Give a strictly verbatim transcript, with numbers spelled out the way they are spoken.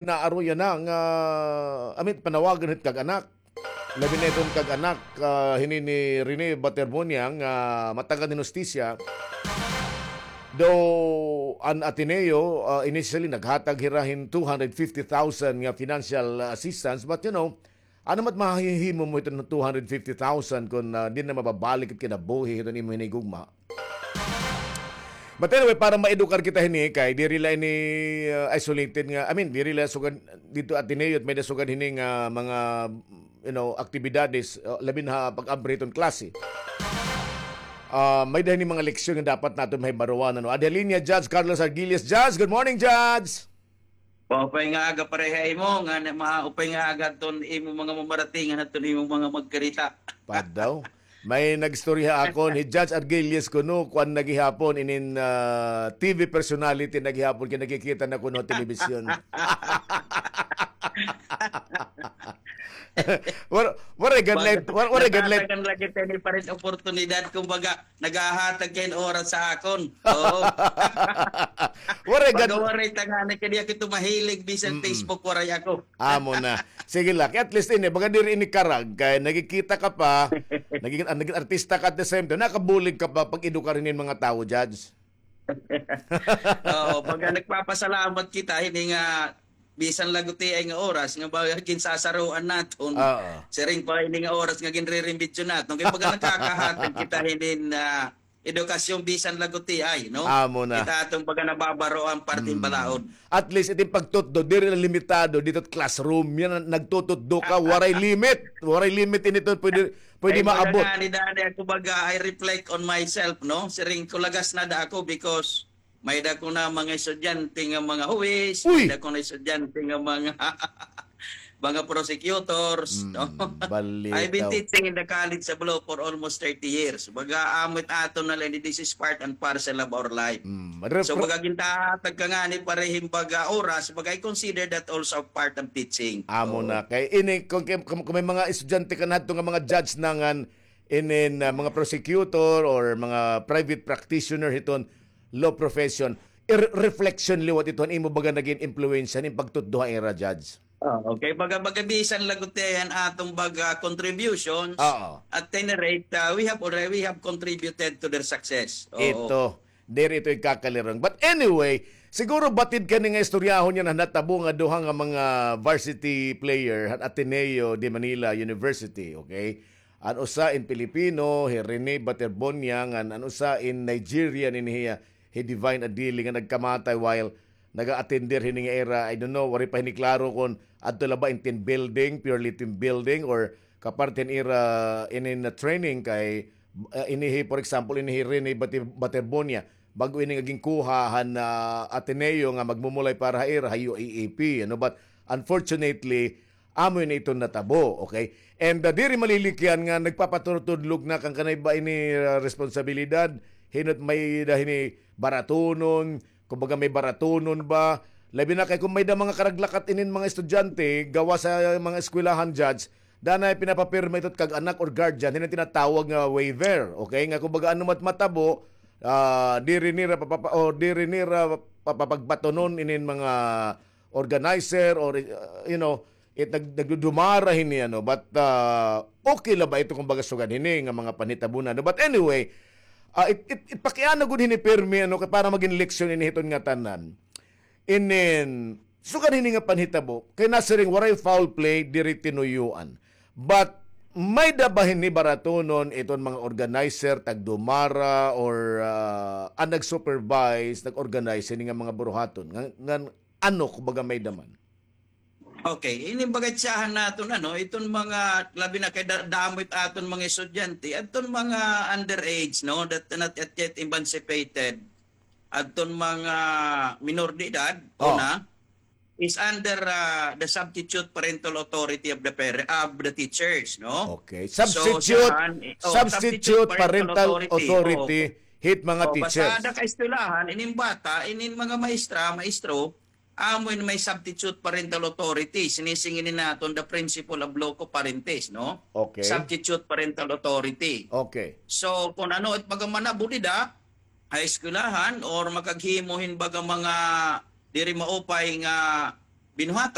naaruyan na nga, I mean, panawagan hit kag-anak. Labi na iton kag-anak, ah, hini ni Rene Baterbonia nga matagad hin hustisya. Though an Ateneo, ah, initially naghatag hira hin two hundred fifty thousand nga financial assistance, but, you know, ano mat mahihimo mo iton two hundred fifty thousand kon, ah, di na mababalik it kinabuhi hiton imo hinigugma? But anyway, para maedukar kita hini, kay diri la ini, uh, isolated nga, I mean, diri la sugad didto Ateneo, may da sugad hini nga mga, you know, aktibidades, uh, labi na pag-abri hiton klase. Ah, may da hini mga leksyon nga dapat naton mahibaroan, ano. Adi ha linya, Judge Carlos Argilius. Judge, good morning, Judge. Maupay nga aga pareha imo, nga na-, maupay nga aga ton imo mga mamaratingan at ton imo mga magkarita. Padaw. May nagstorya akon, hi Judge Argilius kuno, kuan na gihapon, inin, ah, T V personality na gihapon, kay nakikita na kuno ha telebisyon. Wara, wara gad light, wara, wara gad light. Nagtatagan lagi tayo ni parin oportunidad, kumbaga, naghahatag kayo ng oras sa akon. Oo. Waray gad. Pagka waray tangani kaniya kito mahilig bisan Facebook, waray ako. Amo na. Sige la, at least ini, baga diri ini karag, kay nagkikita ka pa, naging, ah, naging artista ka at the same time, nakabulig ka pa pag-edukar hinin mga tawo, Judge. Oo, baga nagpapasalamat kita, hini nga bisan lagutiay nga oras nga baga ginsasaruan naton. Oo. Siring pa ini nga oras nga ginririmbidyo naton. Kay baga nakakahatag kita hinin, ah, edukasyon bisan lagutiay, no? Amo na. Kita aton baga nababaroan parte hin balaod. At least, itin pagtutdo, diri la limitado didto classroom. Yana, nagtututdo ka, waray limit. Waray limit ini to, pwede, pwede maabot. Ay, baga ngani, dani ako baga, I reflect on myself, no? Siring ko lagas na da ako because may da ko na mga estudyante nga mga huwis, may da ko na estudyante nga mga, mga prosecutors, no? I've been teaching in the college sa Bolo for almost thirty years. Baga, amo it aton na la ini, this is part and parcel of our life. So, baga, gintahatag ka ngani pareha hin baga oras, baga, I consider that also part of teaching. Amo na. Kay ini, kung, kung, kung may mga estudyante ka na hadto nga mga judge na ngan, inin, ah, mga prosecutor or mga private practitioner hiton law profession, ir-, reflection liwat ito han imo baga nagin impluwensya hin pagtutdo ha ira, Judge. Oo, okay. Baga, baga bisan lagutiay an aton baga contributions, at any rate, ah, we have already, we have contributed to their success. Oo. Ito, diri ito ikakalirong. But anyway, siguro batid kani nga istoryahon yana natabo nga duha nga mga varsity player han Ateneo de Manila University, okay? An usa in Pilipino, hi Rene Baterbonia, ngan an usa in Nigerian, ini hiya, hi Divine Adili, nga nagkamatay while naga-attender hini nga ira, I don't know, waray pa hini klaro kon adto la ba in team building, purely team building, or kaparte hin ira inin training kay, ah, ini hi, for example, ini hi Rene Bati-, Baterbonia, bag-o ini nga ginkuha han, ah, Ateneo nga magmumulay para ha ira ha U A A P, ano, but unfortunately, amo ini iton natabo, okay? And, ah, diri malilikyan nga nagpapaturutudlog na kan kanay ba ini, ah, responsabilidad, hin-o it may-ada hini baratunon, kumbaga may baratunon ba, labi na kay kon may-ada mga karaglakat inin mga estudyante, gawas ha mga eskwelahan, Judge, danay pinapapirma ito it kag-anak or guardian, hin-o it tinatawag nga waiver, okay? Nga kumbaga ano man it matabo, ah, diri nira papapa-, o diri nira papagbatonon inin mga organizer or, uh, you know, it nag-, nagdudumara hini, ano, but, uh, okay la ba ito kumbaga sugad hini nga mga panhitabo na, no? But anyway, uh, it, it, it pakiana gud hini pirmi, ano, kay para magin leksyon ini hiton ngatanan. Inin, sugad hini nga panhitabo, kay nasiring waray foul play, diri tinuyuan. But, may-ada ba hini baratunon iton mga organizer, tagdumara, or, uh, an nag-supervise, nag-organize hini nga mga buruhaton? Nga, nga, ano, kumbaga may-ada man? Okay, ini baga tsahan naton, ano, iton mga, labi na kay da-, damo it aton mga estudyante, adton mga underage, no, that not yet, yet emancipated, adton mga minor de edad, una, is under, ah, the substitute parental authority of the pare-, of the teachers, no? Okay. So, substitute, siyahan, eh, oh, substitute parental authority, hit mga teachers. Basta ada ka eskwelahan, inin bata, inin mga maestra, maestro, amo in may substitute parental authority. Sinisingin naton the principle of loco parentis, no? Okay. Substitute parental authority. Okay. So, kung ano it mga manabudida, ha eskwelahan or makaghimo hin baga mga diri maupay nga binuhat